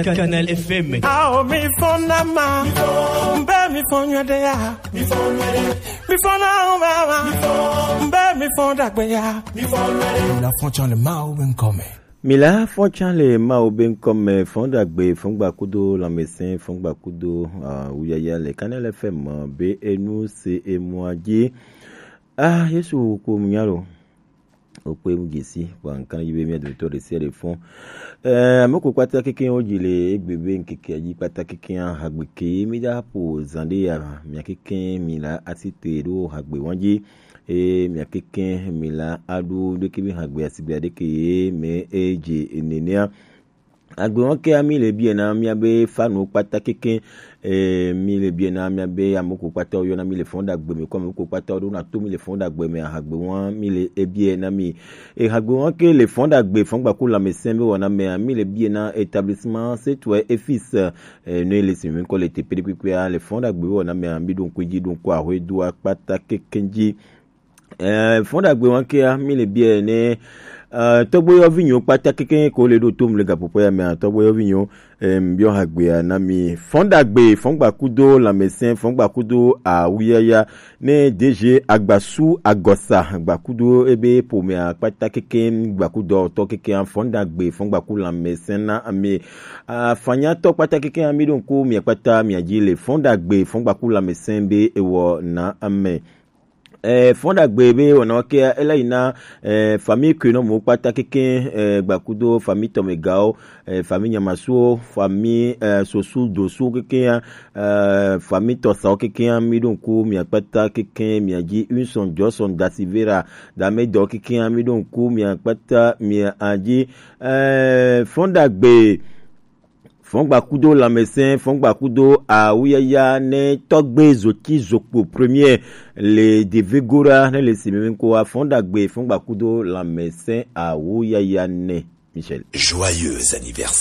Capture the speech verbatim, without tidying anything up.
Canal F M. Ao mi fɔ na ma, mbe mi fɔ nyuie ɖe ya, mi fɔ nyuie ɖe, mi fɔ na ma ma, mbe mi fɔ dagbe ya, mi fɔ nyuie ɖe. Mi la fɔ tsã le Mawu be ŋkɔ me. Mi la fɔ tsã le Mawu be ŋkɔ me, fɔn dagbe, fɔn gba kudo lãmesẽ, fɔn gba kudo, ah, wuyaya le Canal F M be enu se emua dzi. Ah, Yesu ko mu nya lo. Okpe mu dzesi, kpɔ nkan yi be mia dometɔ ɖe sia ɖe fɔn. Eh, ame ko kpata keke wo dzi le egbe be ŋkeke dzi kpata keke hagbe ke mi da po zan ɖe ya, mia keke mi la asi te ɖo hagbe wan dzi. E mia keke mi la aɖo ɖeke mi hagbe asigbe ɖeke ye me e dze nenea. Agbe wan ke mi le bia na mia be fanu kpata keke, eh, mi le bia na mia be amoko kpata wo yɔ na mi le fɔn dagbe me, ko amoko kpata wo ɖo na to mi le fɔn dagbe me, ahagbe wan mi le ebia na mi. E hagbe wan ke le fɔn dagbe, fɔn gba ku lãmesẽ be wɔna me, mi le bia na établissement Setue et Fils, eh, ne le si mi ko le te pede kpekpe a le fɔn dagbe be wɔna me, mi ɖo ŋku dzi, ɖo ŋku ahwe do kpata keke dzi. Eh, fɔn dagbe wan ke ya, mi le bia ne, eh, tɔgbe yɔ vi nyo kpata keke ko le ɖo to mi le gapopo ya me, tɔgbe yɔ vi nyo, eh, biɔ hagbe ya na mi. Fɔn dagbe, fɔn gba kudo lãmesẽ, fɔn gba kudo awuyaya, ne D G Agbasu Agɔsa, gba kudo ebe pomea kpata keke, gba kudo tɔ keke, fɔn dagbe, fɔn gba ku lãmesẽ na mi. Ah, fanya tɔ kpata keke, mi ɖo ŋku mia kpata mia dzi le fɔn dagbe, fɔn gba ku lãmesẽ be ewɔ na ame. Eh, fɔn dagbe be wɔna ke ela yi na, eh, famille ke no mo kpata keke, eh, gba kudo famille tɔmegawo, eh, famille nyamasuwo, famille, eh, sosu dosu keke ya, eh, famille tɔsawo keke ya, mi ɖo ŋku mia kpata keke mia dzi, Unson Johnson Dasivera, dame dɔ keke ya, mi ɖo ŋku mia kpata mia dzi, eh, fɔn dagbe. Fɔn gba kudo lãmesẽ, fɔn gba kudo awuyaya ne tɔgbe zoti zokpo premier le Devegora ne le si mi ko wa fɔn dagbe, fɔn gba kudo lãmesẽ awuyaya ne. Michel. Joyeux anniversaire.